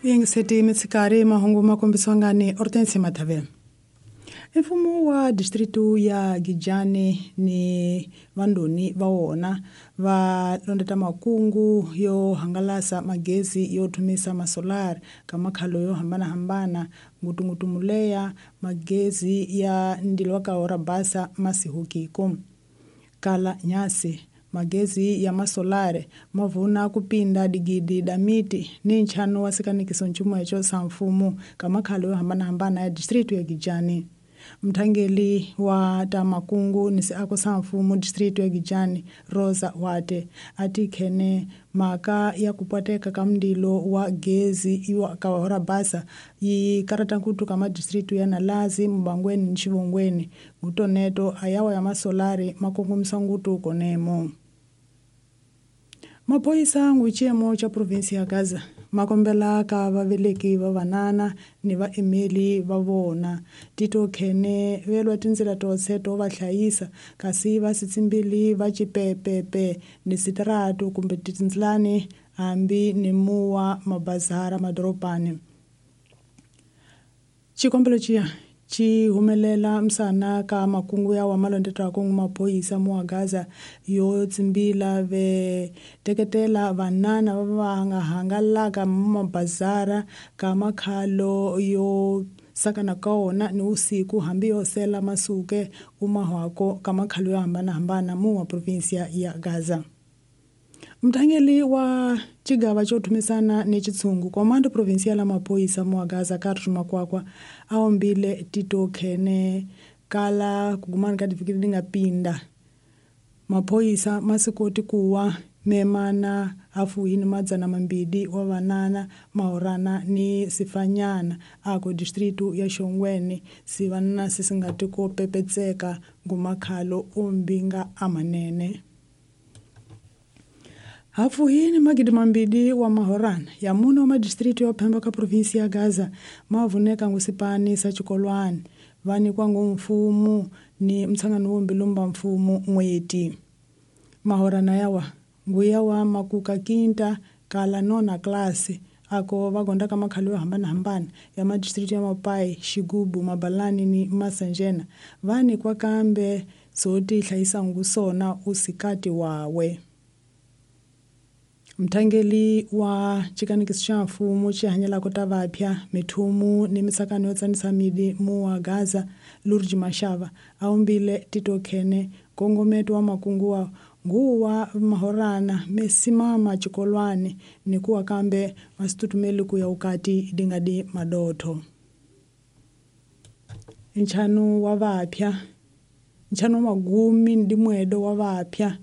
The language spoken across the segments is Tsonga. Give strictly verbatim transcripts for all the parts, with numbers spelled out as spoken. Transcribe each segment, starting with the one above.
Yingiseti mitshikari mahungu ma kombisiwa ngani Hortense Mathavela. Mfumo wa distritu ya Gijani ni vandoni va wona va londeta makungu yo hangalasa magezi yo thumisa masolar ka makhalo yo hambanahambana ngutungutu muleya magezi ya ndilo wa ka basa masihukiko kala nyasi magezi ya masolare mavuna kupinda digidi da miti ni nchano wa sikanikiso nchumo echo sa mfumo ka makhalo yo hambanahambana ya distritu ya Gijani. Mthangeli wa tamakungu ni siako sa mfumo distritu ya Gijani Rosa Wate ati khene maka ya kupateka ka mndilo wa gezi iwa ka basa yi karata nkutu kama distritu ya Nalazi Mbangweni Nchivongweni ngutoneto ayawa ya masolari makongomisa ngutu konemo. Maphoyisa nguchemo cha provinsi ya Gaza makombela ka vaveleki va vanana ni vaemeli va vona tito khene velwa tindzela totse to va hlayisa kasi va sitsimbili va chipepepe ni sitratu kumbe tindlani hambi ni muwa mabazara madorobani. Xikombelo xiya xi humelela msana ka makungu ya wa malondetwa kungu maphoyisa mu wa Gaza yo tsimbila ve teketela vanana va va nga hangalaka mabazara ka makhalo yo sakana ka wona ni usiku hambi yo sela masuke umahwako ka makhalo yo hambanahambana mu wa provinsia ya Gaza. Mthangeli wa chigava cho thumisana ni chitsungu komando provincial la maphoyisa mu wa Gaza Carlos Makwakwa aombile tito khene kala kugumana ka difikiri dinga pinda maphoyisa masikoti kuwa memana afuhini madzana mambili wa vanana mahorana ni sifanyana ako distritu ya Shongweni sivanana sisingati ko pepetseka ngumakhalo ombinga amanene. Hafuhini magidi mambili wa mahorana ya muno wa madistritu ya Pemba ka provinsi ya Gaza mavuneka ngusipani sa chikolwani vani kwangu mfumu ni mtsangano wombilumba mfumu mweti mahorana yawa nguya wa makuka kinta kala nona klasi ako vagonda ka makhalo yo hambanahambana ya madistritu ya Mapai, Xigubu, Mabalani ni Masanjena vani kwa kambe soti hlayisa ngusona usikati wawe. Mthangeli wa chikanikiso xa mfumo xi hanyelaka ta vapya mithumu ni misakano yo tsanisa midi mu wa Gaza Lurji Mashava aumbile tito khene nkongometo wa makungu wa nguwa mahorana mesimama chikolwani ni kuwa kambe masitutumeli kuya ukati dingadi madotho. Nchano wa vapya nchano magumi ndi mwedo wa vapya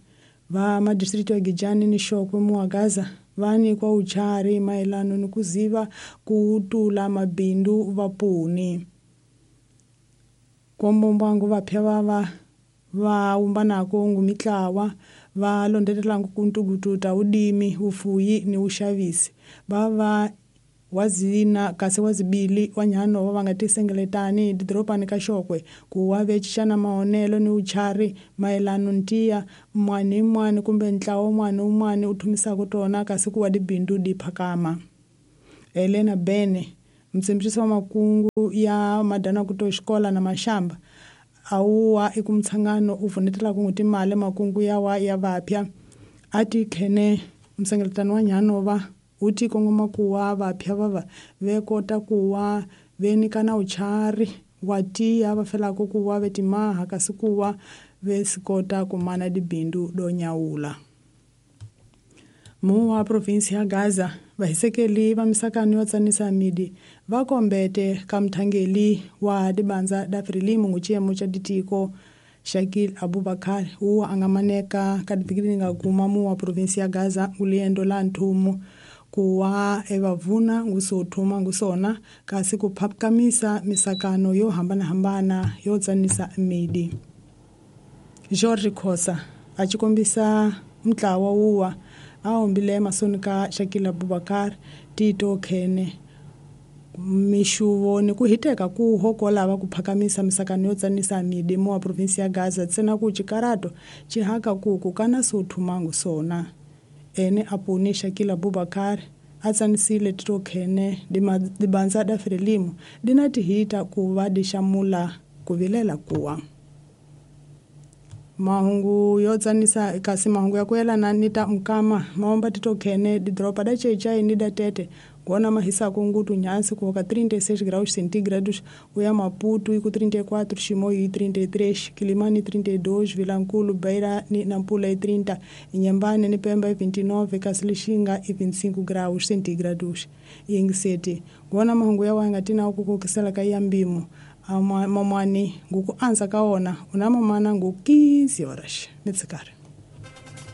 va madistritu ya Gijani ni Shokwe mu wa Gaza vani kwa uchari maelano ni kuziva kutula mabindu vapuni kombombwangu vapya vava va umbanako ngumitlawa va londetelangu kuntukututa udimi ufuyi ni ushavisi vava wazina kasi wazibili wanyano va nga tisengeletani didorobani ka Shokwe ku wa vechixana maonelo ni uchari mayelano ntiya mwani mwani kumbe ntlawa mwani umwani u thumisaka tona kasi ku wa dibindu di phakama. Elena Bene mtsimbisi wa makungu ya madana kuto xikola na mashamba awuwa ekumtshangano u vunetelaka n'wi timali makungu ya wa ya vapya ati khene msengeletano wa nyano va uti kongoma kuwa vapya vava ve kota kuwa ve nyikana uchari wa tiya va felaka kuwa ve timaha kasi kuwa ve sikota kumana dibindu do nyawula. Mu wa provinsi ya Gaza vahisekeli va misakano yo tsanisa midi va kombete ka mthangeli wa dibandza da Frelimo nguchiyemo cha ditiko Shakil Abubakar uwa angamaneka ka difikiri nga kuma mu wa provinsi ya Gaza uliendo la nthumu kuwa evavuna ngusothuma ngusona kasi kuphakamisa misakano yo hambanahambana yo tsanisa midi. George Khosa a chikombisa mntlawa wuwa aombile masoni ka Shakil Abubakar tito khene mixuvo ni ku hiteka ku hokola ku phakamisa misakano yo tsanisa midi mu wa provinsi ya Gaza tsena ku chikarato chihaka ku ku kana sothumangu sona ene apuni Shakil Abubakar Atsanisile titokhene dibanza da Frelimo dina tihita kuva dixamula kuvilela kuwa. Mahungu yotsanisa kasi mahungu ya kuyelana ni ta mukama maomba titokhene didoropa da Xai-Xai ni da Tete gona mahisako ngutu nhansi kuvoka trinta e seis graus centígrados, uya Maputo iku trinta e quatro, Chimoio i trinta e três, Quilimane trinta e dois, Vilanculo, Beira ni Nampula i trinta, Inhambane ni Pemba i vinte e nove, kasi Lixinga i vinte e cinco graus centígrados. Yingiseti gona mahungu ya wanga tina ukukokisela ka ya mbimo mamwani nguku anza kaona una mamana ngu quinze horas mitsikari.